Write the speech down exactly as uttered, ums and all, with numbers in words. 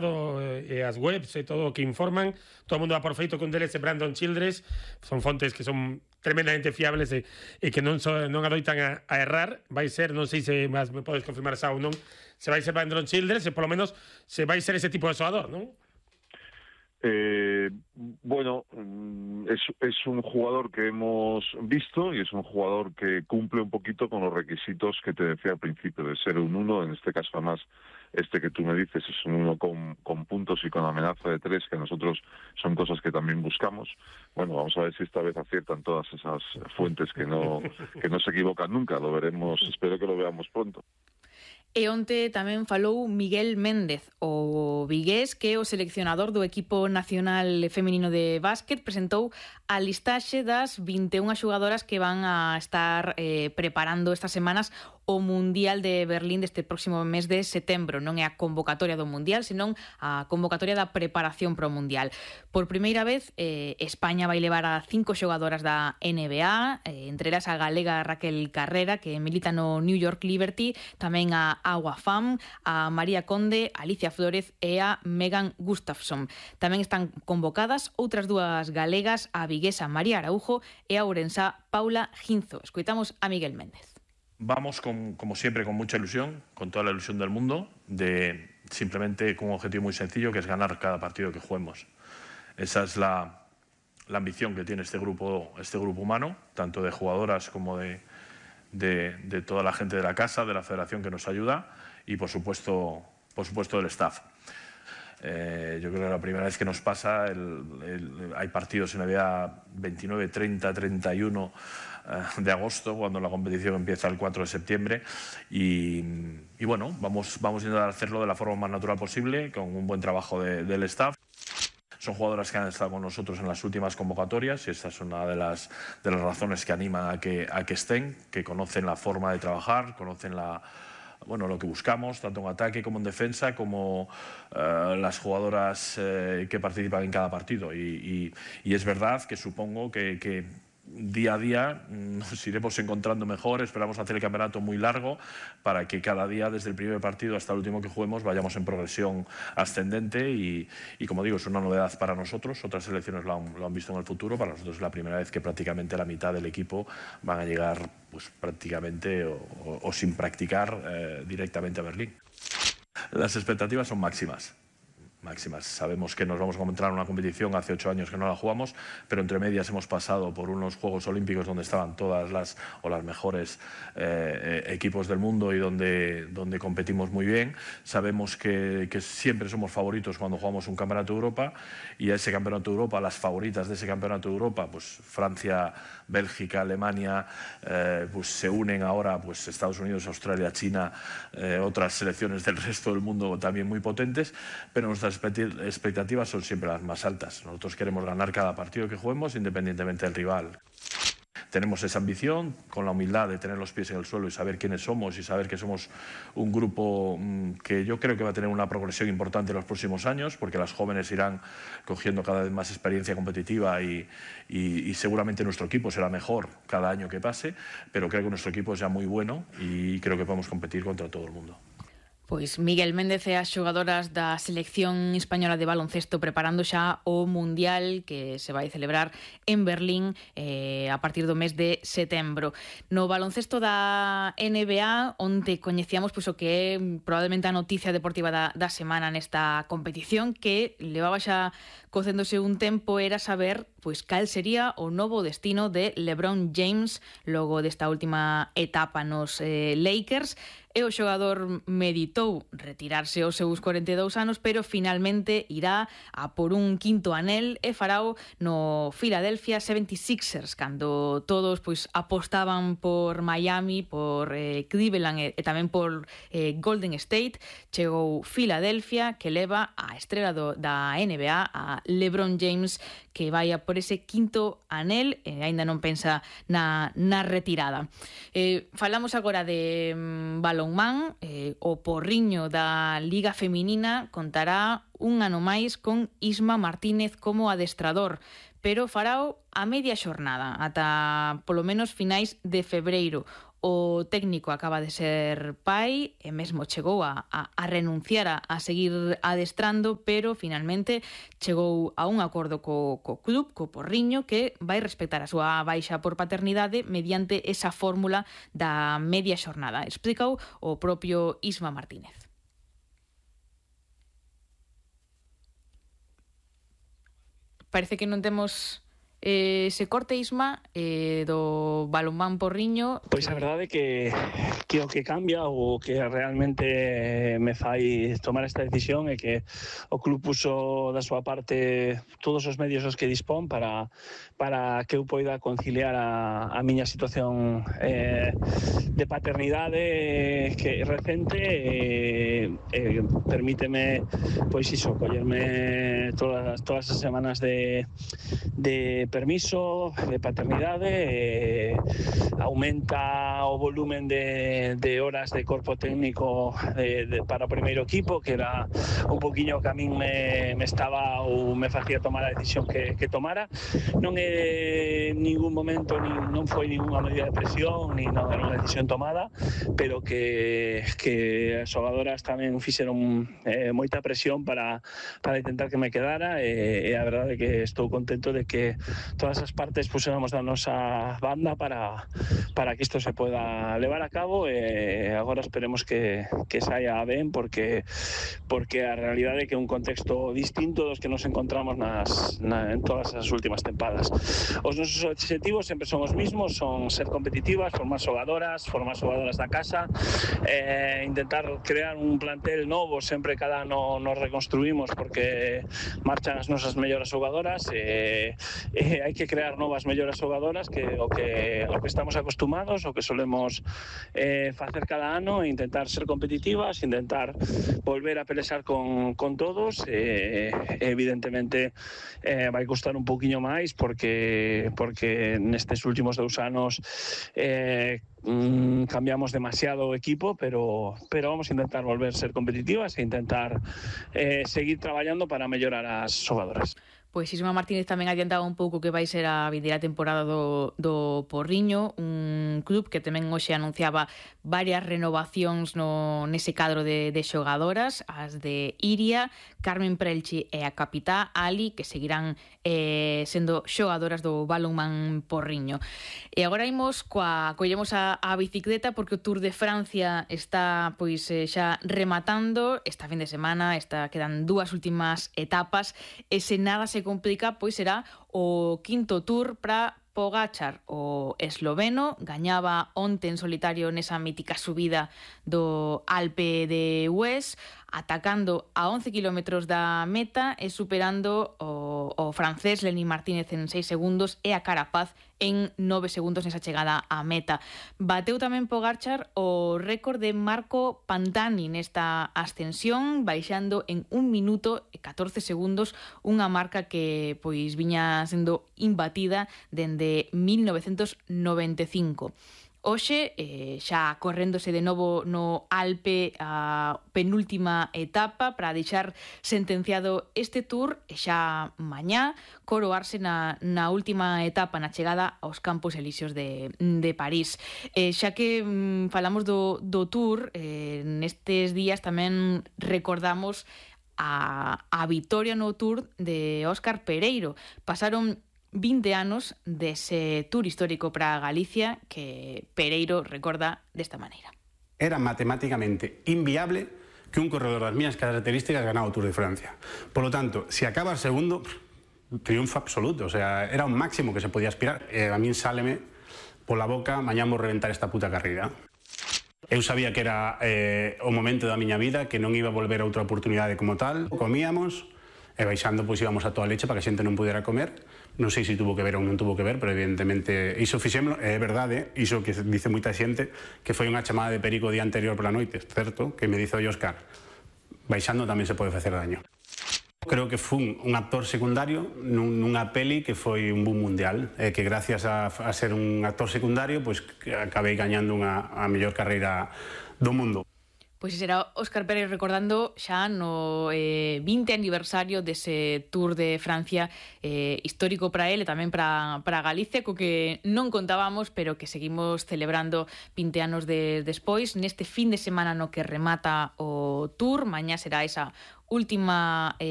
e as webs e todo o que informan, todo o mundo dá por feito que un deles é Brandon Childress, son fontes que son tremendamente fiables e, e que non, so, non adoitan a, a errar. Vai ser, non sei se más me podes confirmar xa ou non, se vai ser Brandon Childress e polo menos se vai ser ese tipo de xogador, non? Eh, bueno, es, es un jugador que hemos visto y es un jugador que cumple un poquito con los requisitos que te decía al principio, de ser un uno, en este caso además este que tú me dices es un uno con, con puntos y con amenaza de tres, que nosotros son cosas que también buscamos. Bueno, vamos a ver si esta vez aciertan todas esas fuentes que no, que no se equivocan nunca, lo veremos, espero que lo veamos pronto. E onte tamén falou Miguel Méndez, o vigués, que é o seleccionador do equipo nacional feminino de básquet, presentou a listaxe das vinte e unha xogadoras que van a estar eh, preparando estas semanas o Mundial de Berlín deste próximo mes de setembro. Non é a convocatoria do Mundial, senón a convocatoria da preparación para o Mundial. Por primeira vez, eh, España vai levar a cinco xogadoras da N B A, eh, entre elas a galega Raquel Carrera, que milita no New York Liberty, tamén a Agua Fam, a María Conde, a Alicia Flórez e a Megan Gustafsson. Tamén están convocadas outras dúas galegas, a viguesa María Araujo e a ourensá Paula Ginzo. Escoitamos a Miguel Méndez. Vamos, con, como siempre, con mucha ilusión, con toda la ilusión del mundo, de simplemente con un objetivo muy sencillo, que es ganar cada partido que juguemos. Esa es la, la ambición que tiene este grupo, este grupo humano, tanto de jugadoras como de, de, de toda la gente de la casa, de la federación que nos ayuda y, por supuesto, por supuesto del staff. Eh, yo creo que la primera vez que nos pasa, el, el, hay partidos en la vida veintinueve, treinta, treinta y uno eh, de agosto, cuando la competición empieza el cuatro de septiembre y, y bueno, vamos, vamos a intentar hacerlo de la forma más natural posible, con un buen trabajo de, del staff. Son jugadoras que han estado con nosotros en las últimas convocatorias y esta es una de las, de las razones que animan a que, a que estén, que conocen la forma de trabajar, conocen la bueno, lo que buscamos, tanto en ataque como en defensa, como uh, las jugadoras eh, que participan en cada partido. Y, y, y es verdad que supongo que, que día a día nos iremos encontrando mejor, esperamos hacer el campeonato muy largo para que cada día, desde el primer partido hasta el último que juguemos, vayamos en progresión ascendente y, y como digo, es una novedad para nosotros, otras selecciones lo han, lo han visto en el futuro, para nosotros es la primera vez que prácticamente la mitad del equipo van a llegar pues prácticamente o, o, o sin practicar eh, directamente a Berlín. Las expectativas son máximas. máximas. Sabemos que nos vamos a encontrar en una competición, hace ocho años que no la jugamos, pero entre medias hemos pasado por unos Juegos Olímpicos donde estaban todas las o las mejores eh, equipos del mundo y donde, donde competimos muy bien. Sabemos que, que siempre somos favoritos cuando jugamos un Campeonato de Europa y a ese Campeonato de Europa, las favoritas de ese Campeonato de Europa, pues Francia, Bélgica, Alemania, eh, pues se unen ahora pues Estados Unidos, Australia, China, eh, otras selecciones del resto del mundo también muy potentes, pero nuestras expectativas son siempre las más altas. Nosotros queremos ganar cada partido que juguemos independientemente del rival. Tenemos esa ambición, con la humildad de tener los pies en el suelo y saber quiénes somos y saber que somos un grupo que yo creo que va a tener una progresión importante en los próximos años, porque las jóvenes irán cogiendo cada vez más experiencia competitiva y, y, y seguramente nuestro equipo será mejor cada año que pase, pero creo que nuestro equipo es ya muy bueno y creo que podemos competir contra todo el mundo. Pois Miguel Méndez e as xogadoras da selección española de baloncesto preparando xa o Mundial que se vai celebrar en Berlín eh, a partir do mes de setembro. No baloncesto da N B A, onte coñecíamos pois, o que é probablemente a noticia deportiva da, da semana nesta competición, que levaba xa cocéndose un tempo, era saber pois cal sería o novo destino de LeBron James logo desta última etapa nos eh, Lakers. E o xogador meditou retirarse aos seus cuarenta e dous anos, pero finalmente irá a por un quinto anel e farao no Philadelphia setenta y seis ers, cando todos pois apostaban por Miami, por eh, Cleveland e, e tamén por eh, Golden State. Chegou Philadelphia, que leva a estrela do, da N B A, a LeBron James, que vai a por ese quinto anel e aínda non pensa na, na retirada. Eh, falamos agora de mm, balonmán. Eh, o porriño da Liga Feminina contará un ano máis con Isma Martínez como adestrador, pero farao a media xornada, ata polo menos finais de febreiro. O técnico acaba de ser pai e mesmo chegou a, a, a renunciar a, a seguir adestrando, pero finalmente chegou a un acordo co, co club, co Porriño, que vai respectar a súa baixa por paternidade mediante esa fórmula da media xornada. Explicou o propio Isma Martínez. Parece que non temos eh, ese corte, Isma, eh, do balonmán Porriño. Pois a verdade é que, que o que cambia ou que realmente me fai tomar esta decisión é que o club puso da súa parte todos os medios os que dispón para, para que eu poida conciliar a, a miña situación eh, de paternidade que recente e eh, eh, permíteme pois iso, collerme todas, todas as semanas de, de permiso de paternidade, eh, aumenta o volumen de, de horas de corpo técnico de, de, para o primeiro equipo, que era un poquinho que a min me, me estaba ou me facía tomar a decisión que, que tomara. Non é en ningún momento, ni, non foi ninguna medida de presión, ni non era unha decisión tomada, pero que, que as xogadoras tamén fixeron eh, moita presión para, para intentar que me quedara, e, e a verdade é que estou contento de que todas as partes puséramos da nosa banda para, para que isto se pueda levar a cabo, e agora esperemos que, que saia ben, porque, porque a realidade é que é un contexto distinto dos que nos encontramos nas, na, en todas as últimas tempadas. Os nosos objetivos sempre son os mismos, son ser competitivas, formar xogadoras, formar xogadoras da casa, eh, intentar crear un plantel novo, sempre cada ano nos reconstruímos porque marchan as nosas mellores xogadoras, e eh, eh, hai que crear novas mellores xogadoras, que o que, o que estamos acostumados, o que solemos eh, facer cada ano, e intentar ser competitivas, intentar volver a pelexar con, con todos, e eh, evidentemente eh, vai costar un pouquiño máis porque, porque nestes últimos dous anos eh, mm, cambiamos demasiado o equipo, pero, pero vamos a intentar volver a ser competitivas e intentar eh, seguir traballando para mellorar as xogadoras. Pois Isma Martínez tamén adiantaba un pouco que vai ser a vindeira temporada do, do Porriño, un club que tamén hoxe anunciaba varias renovacións no, nese cadro de, de xogadoras, as de Iria, Carmen Prelchi e a capitá Ali, que seguirán eh, sendo xogadoras do balonmán Porriño. E agora imos coa, collemos a, a bicicleta, porque o Tour de Francia está pois eh, xa rematando esta fin de semana, está, quedan dúas últimas etapas, e se nada se complica, pois será o quinto Tour para Pogačar, o esloveno. Gañaba onte en solitario nesa mítica subida do Alpe de Hues, atacando a once kilómetros da meta e superando o, o francés Lenny Martínez en seis segundos e a Carapaz en nove segundos nesa chegada á meta. Bateu tamén Pogačar o récord de Marco Pantani nesta ascensión, baixando en un minuto e catorce segundos, unha marca que pois viña sendo imbatida dende mil novecentos noventa e cinco. Hoxe, eh, xa corréndose de novo no Alpe a penúltima etapa para deixar sentenciado este Tour, e xa mañá coroarse na, na última etapa, na chegada aos Campos Elíseos de, de París. Eh, xa que mm, falamos do, do Tour, eh, nestes días tamén recordamos a, a vitoria no Tour de Óscar Pereiro. Pasaron vinte anos dese Tour histórico para Galicia que Pereiro recorda desta maneira. Era matemáticamente inviable que un corredor das mías características ganara o Tour de Francia. Por lo tanto, se acaba segundo, triunfo absoluto. O sea, era un máximo que se podía aspirar. E a min sáleme pola boca, mañá vou reventar esta puta carreira. Eu sabía que era eh, o momento da miña vida, que non iba a volver a outra oportunidade como tal. Comíamos, e baixando pois íbamos a toda leche para que a xente non pudera comer. Non sei se tuvo que ver ou non tuvo que ver, pero evidentemente iso fixémolo, é verdade, iso que dice moita xente, que foi unha chamada de perico o día anterior pola noite, certo? Que me dice o Óscar, baixando tamén se pode facer daño. Creo que fun un actor secundario nunha peli que foi un boom mundial, e que gracias a, a ser un actor secundario, pois acabei gañando unha, a mellor carreira do mundo. Pois será Óscar Pérez recordando xa no eh, vinte aniversario dese Tour de Francia eh, histórico para ele e tamén para, para Galicia, co que non contábamos, pero que seguimos celebrando vinte anos de, despois, neste fin de semana no que remata o Tour. Mañá será esa última eh,